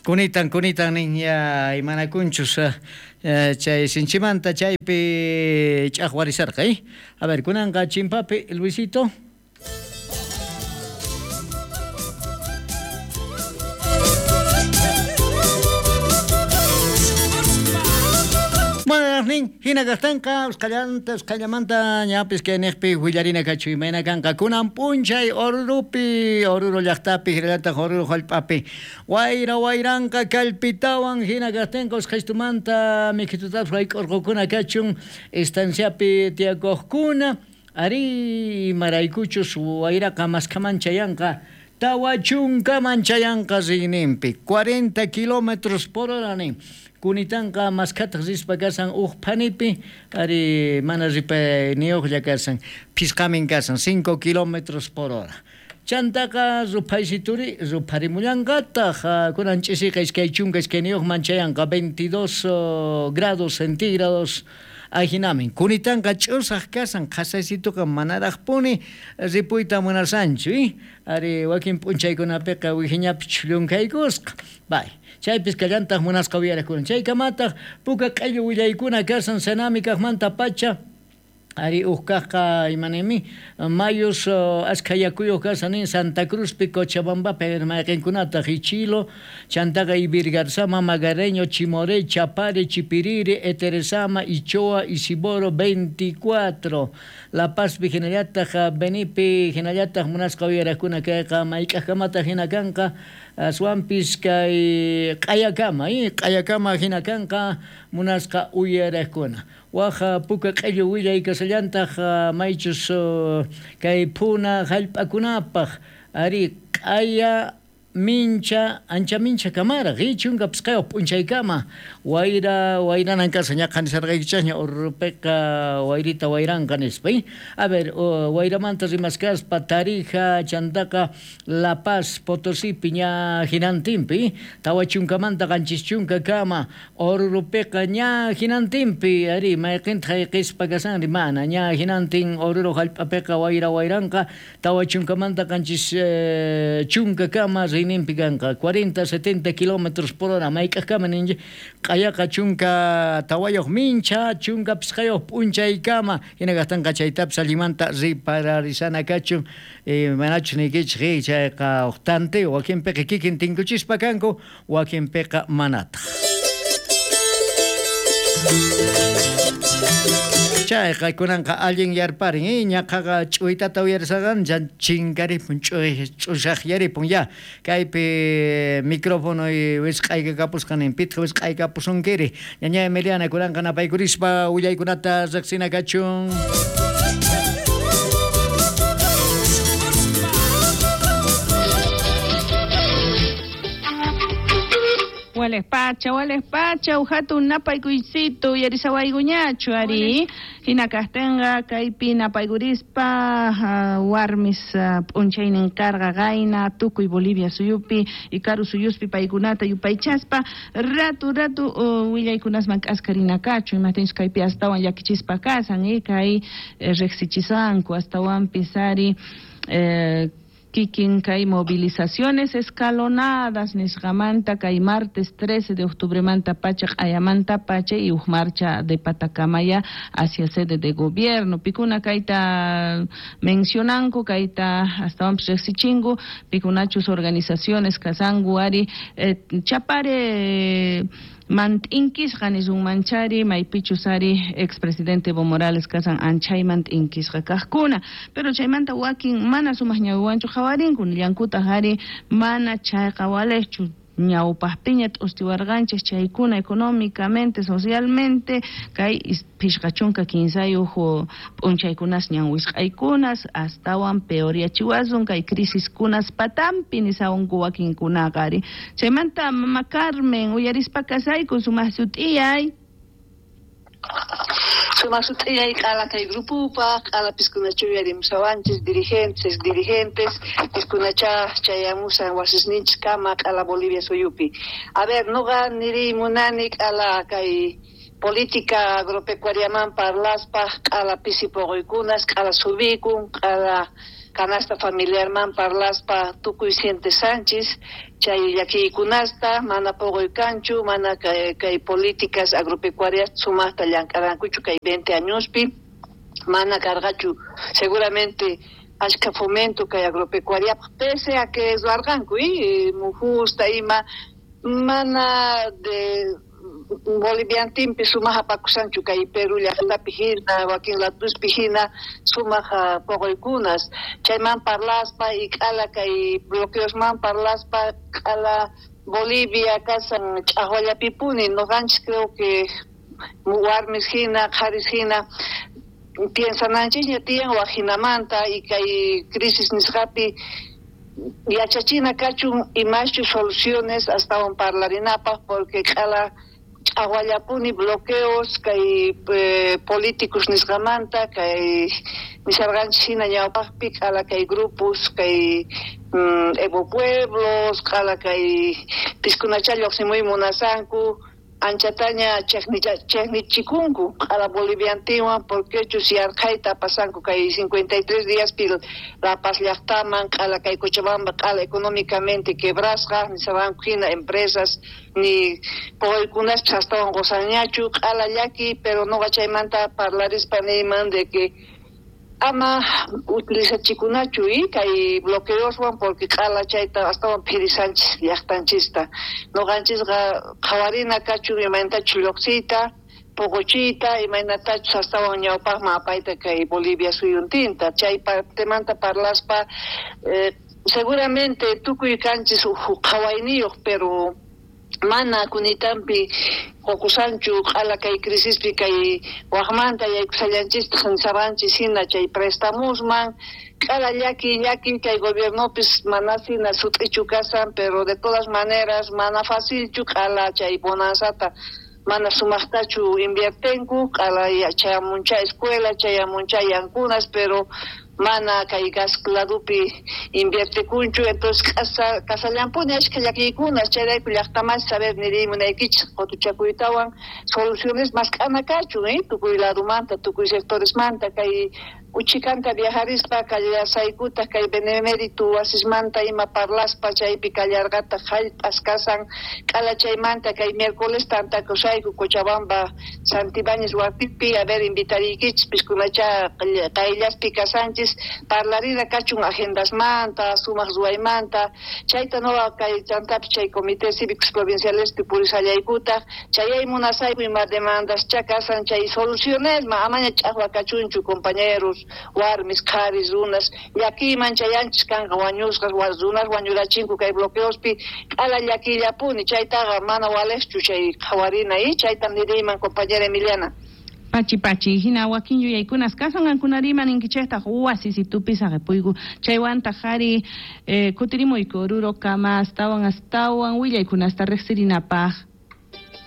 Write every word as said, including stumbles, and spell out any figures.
Kunitan kunitan nin ya imanakunchus chay sinchimanta chaypi ch'aqwarisarqa, eh? A ver, kunanqa chimpapi Luisito. Nin hina kaqtinqa usqhallanta usqhallamanta ñapis kay niqpi willarina kachu imayna kanqa kunan p'unchay Orurupi Oruro llaqtapi hinallataq Oruro hallp'api wayra wayranqa kallpitawan hina kaqtinqa usqhaystumanta mikhitutapas wayk'urqukuna kachun estanciapi tiyakuqkuna ari imaraykuchus wayraqa maskhaman chayanqa tawa chunkaman chayanqa riyninpi cuarenta kilómetros por hora nin kunitanqa maskhataq rispa kasan uj phanipi ari mana ripayniyuqlla kasan phisqamin kasan cinco kilómetros por hora chantaqa ruphaysituri rupharimullanqataq kunan ch'isiqa iskay chunka iskayniyuqman chayanqa veintidós grados centígrados ajinamin kunitanqa ch'usaq kasan qhasaysituqa manaraqpuni ripuyta munasanchu eh? Ari wakin p'unchaykunapiqa wihiñapi chhullunkhaykusqa bay chaypis kallantaq munasqa uyaraqkuna chaykamataq puka q'illu willaykuna kasan Senami kaqmanta pacha ari uj kaqqa imanimi mayus ashkha yakuyuq kasan nin Santa Cruzpi Cochabambapi mayqinkunataq Ichilo chantaqa Ibirgarzama Magareño Chimoré Chapare Chipiriri Eteresama Ichoa Isiboro veinticuatro La Pazpi hinallataq Benipi hinallataq munasqa uyaraqkuna kayqa mayk'aqkamataq hina kanqa aswanpis kay q'ayakama eh q'ayakama hina kanqa munasqa uyaraqkuna waj puka q'illu willay kasallantaq maychus kay phuna hallp'akunapaq ari q'aya mincha ancha mincha kamaraq eh chunka phisqayuq p'unchaykama wayra wayranan kasan ñaqa nisarqaykichasña Orurupiqa wayrita wayranqa nispa eh a ver wayramanta rimaskaspa Tarija chantaqa La Paz Potosipi ña hinantinpi tawa chunkamanta qanchis chunka kama Orurupiqa ña hinantinpi ari mayqintaq hayqispa kasanri mana ña hinantin Oruro hallp'apiqa wayra wayranqa tawa chunkamanta qanchis chunka kama nimpi kanqa cuarenta setenta kilómetros por hora mayk'aqkama ninchik q'ayaqa chunka tawayuq mincha chunka phisqayuq p'unchaykama hina kaqtinqa chaytapis allinmanta ripararisana kachun manachus niykichik chayqa uj tanteo wakinpiqa kikin tinkuchispa kanku wakinpiqa manataq. Chayqa kunanqa allin yarparin eh ñaqaqa ch'uytata uyarisaqan chinkaripun ch'uy ch'ushaqyaripun ya kaypi micrófono wisq'aykakapusqa nin pitqa wisq'aykapusunkiri ñaña Emiliana kunanqa napaykurispa willaykunata riqsina kachun. Wales pacha, wales pacha, ujatu napaykuysitu, uyarisawaykuñachu ari. Hina kaqtinqa kaypi napaykurispa uh, warmis uh, p'unchaynin karqa qayna tukuy Bolivia suyupi Ikaru suyuspi paykunata yupaychaspa ratu ratu uh, willaykunasman k'askarina kachu imaptinchus kaypi astawan llakichispa kasan eh, kay eh, riqsichisanku astawanpis ari eh, kikin kay movilizaciones escalonadas nisqamanta kay martes trece de octubre manta pacha q'ayamanta pacha y uj marcha de Patacamaya hacia sede de gobierno pikuna kayta mencionanku kayta astawanpis riqsichinku pikunachus organizaciones kasanku ari eh, Chapare mant'inkisqa nisunmanchari maypichus ari expresidente Evo Morales kasan anchayman t'inkisqa kaqkuna pero chaymanta wakin mana sumaq ñawiwanchu qhawarinku nillankutaq ari mana chayqa waliqchu ñawpaqpiña t'ustiwarqanchik chaykuna económicamente socialmente kay phishqa chunka kinsayuq p'unchaykunas ñan wisq'aykunas astawan peoryachiwasun kay crisiskunas patampi nisawanku wakinkunaqa ari chaymanta mama Carmen uyarispa kasayku sumaq sut'iyay. Sumaq sut'iyay q'ala kay grupupaq q'ala piskunachu uyarimusawanchis dirigentes dirigentes piskunacha chayamusan wasisninchis kama q'ala Bolivia suyupi. A ver, nuqa niriy munani q'ala kay política agropecuariaman parlaspaq q'ala pisi puquykunas q'ala subikun q'ala canasta familiarman parlaspa tukuy sientesanchis chay llakiykunasta mana poqoy kanchu mana kay, kay políticas agropecuarias sumaqta llank'arankuchu kay veinte añospi mana karqachu seguramente ashka fomento kay agropecuariapaq pese a que ruwarqanku y mujusta ima mana de Boliviantinpi sumaq apakusanchu kay Perú llaqtapi hina wakin latuspi hina sumaq poqoykunas chayman parlaspa y q'ala kay bloqueosman parlaspa q'ala Bolivia kasan ch'aqwallapipuni noqanchis creo que warmis hina qharis hina piensananchisña tiyan wak hinamanta y kay crisis nisqapi yachachina kachun imaschu soluciones astawan parlarinapaq porque q'ala ch'aqwallapuni bloqueos kay eh, políticos nisqamanta kay nisarqanchis hina ñawpaqpi q'ala kay grupos kay mm, Evo Pueblos q'ala kay piskunacha lluqsimuy munasanku anchataña chejnichikunku q'ala boliviantinwan porquechus yarqhayta pasanku kay cincuenta y tres diaspi La Paz llaqtaman q'ala kay Cochabamba q'ala económicamente quebrasqa nisarqanku hina empresas ni poqoykunaspis astawan qusanñachu q'ala llaki pero noqa chaymanta parlarispa niyman de que ama utilizachikunachu y kay bloqueoswan porque q'ala chayta astawan phirisanchis llaqtanchista noqanchisqa qhawarina kachun imaynatachu lluqsiyta poqochiyta imaynatachus astawan ñawpaqman apayta kay Bolivia suyuntinta chay partemanta parlaspa eh, seguramente tukuy kanchis uj qhawayniyuq pero mana kunitampi qokusanchu q'ala kay crisispi kay waqmanta yaykusallanchistaq nisarqanchis hina chay prestamusman q'ala llaki llaki kay gobiernopis mana hina sut'ichu kasan pero de todas maneras mana facilchu q'ala chay bonanzata mana sumaqtachu inviertenku q'ala chayamuncha escuela chayamuncha yankunas pero mana kay gas ladupi inviertekunchu entonces kasa kasallampuni ashka llakiykunas chayrayku llaqtamas saber niriy munaykichis qutuchakuytawan soluciones mask'ana kachun eh tukuy ladumanta tukuy sectoresmanta kay uchikanta viajarispa kallasaykutaq kay benemérito wasismanta ima parlaspa chaypi kallarqataq jallp'as kasan q'ala chaymanta kay miércoles tantakusayku Cochabamba Santibáñez wasipi a ver invitariykichis piskunacha qayllaspi kasanchis parlarina kachun agendasmanta sumaq ruwaymanta chayta noqa kay chantapis chay comité cívicos provincialespi purisallaykutaq chayay munasayku ima demandascha kasan chay solucionesma amaña ch'aqwa kachunchu compañeros warmis qharis runas llakiyman chayanchis kanqa wañusqas runas wañurachinku kay bloqueospi q'ala llakiyllapuni chaytaqa mana waliqchu chay qhawarina y chaytam niriyman compañera Emiliana. Pachi pachi hina wakin yuyaykunas kasan qankunariman ninkichejtaq wasisitupi saqepuyku chaywantaq qhari eh, kutirimuyku Oruro kama astawan astawan willaykunasta riqsirinapaq.